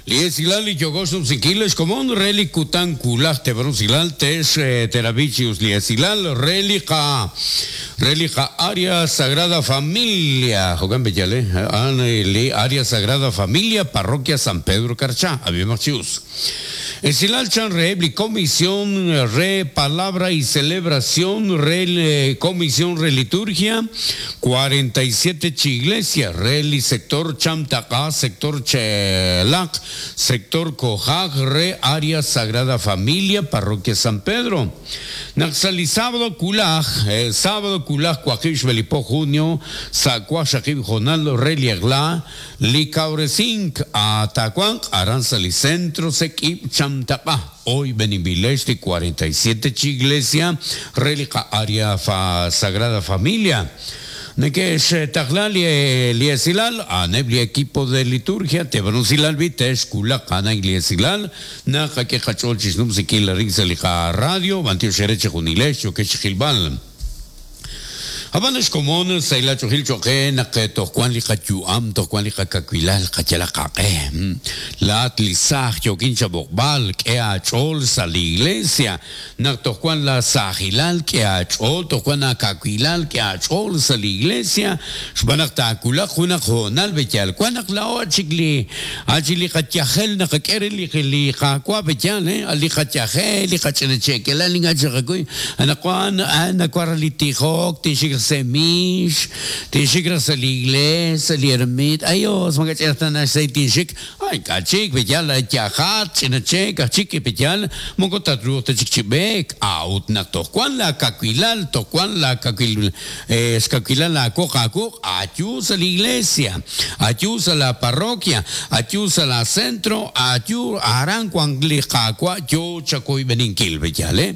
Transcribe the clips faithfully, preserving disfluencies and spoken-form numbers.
Liesilal li yogox nupsikil xkomon reli kutan kulaj tebrusilal tex terabichius liesilal reli ka reli ka Área Sagrada Familia Jogan Bellale li Área Sagrada Familia Parroquia San Pedro Carchá Abimachius Esilal chan re comisión re palabra y celebración re comisión re liturgia cuarenta y siete chi iglesia re li sector Chamtaca sector Chelac sector Cojac re Área Sagrada Familia Parroquia San Pedro Naxali sábado kulaj eh, sábado kulaj cuaquish belipo junio sacuashakib jonal re liegla likauresink atacuan aranzali centro sequip Chamtaca hoy Benimbileste cuarenta y siete chi iglesia relica Área fa, Sagrada Familia Nekesh taglal liesilal anebli equipo de liturgia tebrusilal vitesh kulak ana liesilal na que cachol chisnum sikil rinselika radio bantio shereche junilesh que chilbal Abanes komon saila chohil choque nak tohkuan li kachuam tohkuan li kakakuilal kachala kake la tlisaj yokin chabokbal que achol sa la iglesia nak tohkuan la sajilal que achol tohkuan akakuilal que achol sa la iglesia xbanak takula junak honal bechal kuanak la ochikli achili kachajel nak kere li li kakwa bechal eh ali kachajel li kachenechekela linga chakakuy anakuan anakuaralitijok tishik semish, tinshik sa la iglesia, li ermit, ayos, mga chertan sa tinshik, ay kachik, bechal, chajat, chinachek, achik, bechal, mongotatru, techikchibek, out na tohkuan la kakuilal, tohkuan la kakuil, eh, skakuilal la kokakuk, ayus a la iglesia, ayus a la parroquia, ayus a la centro, ayu, aran kuan li kakwa, yo chakoy beninkil, bechal, eh,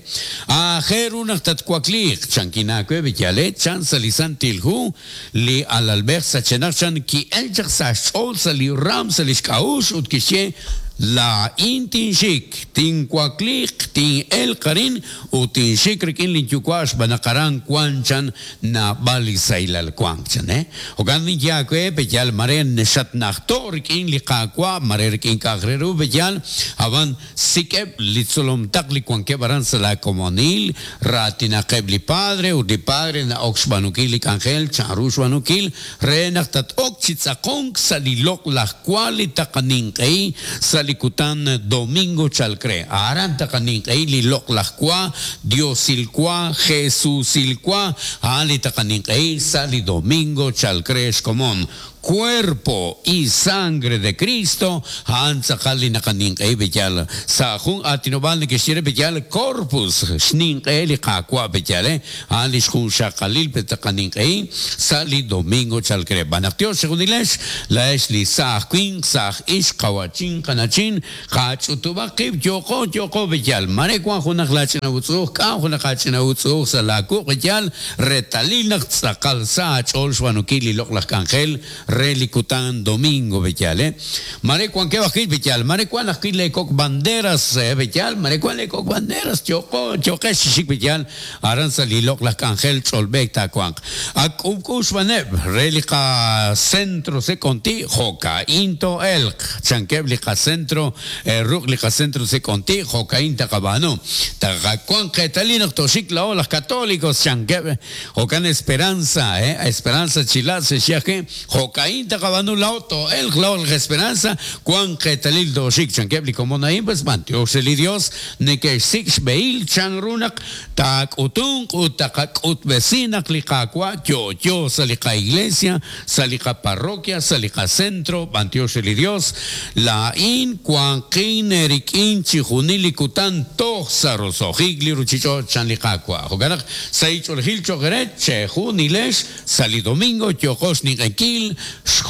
ajerun tatkuaklik, chankinakwe, bechal, eh, chan salisantilhu li alalber sachenachan ki elchak sa shol sali ram salishkaush utkishe la intinshik tinkuaklik tin el karin utinshik rikin linchukuash banakaran kuanchan na balisailal kuanchan eh ogan yakwe beyal maren shatnachto rikin liqakwa mare rikin kagreru beyal avan sikeb litsolom takli kuanke baran sala komonil ratinaqeb li padre u li padre na oxbanukil angel charushbanukil renaqtat okchitzakong salilok lajkuali taqaninqei sali Likutan domingo chalcre aranta kaninqei lilok lajkua Diosilkua Jesusilkua ali taqaninqei sali domingo chalcre común cuerpo y sangre de Cristo hantzakali nakaninqei bechal sa jun atinobal nikishire bechal corpus xninqei liqakua bechal ali xjun xaqalil petaqaninqei sali domingo chalcre banaqtio segunilesh la es li saj quin saj ix qawachin qanachin qach'utubaqib yoqo yoqo bechal marekuan junaq lach'inawutzuj k'an junaq ach'inawutzuj salaku bechal retalil naq tz'aqal sa ch'ol xwanukil liloq laj k'anjel relikutan domingo bechal eh marekuan que bajil bechal marekuan ajkil le kok banderas eh bechal marekuan le kok banderas choko choque shik bechal aran salilok las k'anjel ch'olbek takuan ak'ub'k'ux baneb relika centro se conti joka into elk chankeb lika centro eh, ruk lika centro se conti joka inta kabano takakuan qetalin toshik la las católicos chankeb jokan esperanza eh esperanza chila se shiaje joka inta kabanu lauto el lao la esperanza cuan qetalil doshik chankeb como naim pues man Dios el Dios neke six beil chanrunak tak utung utakak utbesinak likakwa yo yo salika iglesia salika parroquia salika centro Dios el Dios la in cuan qin erikin chijunilikutan toxarosojigli ruchicho chanlikakwa joganak saichol gil chogeret chejunilesh sali domingo yokosh ninkil xjun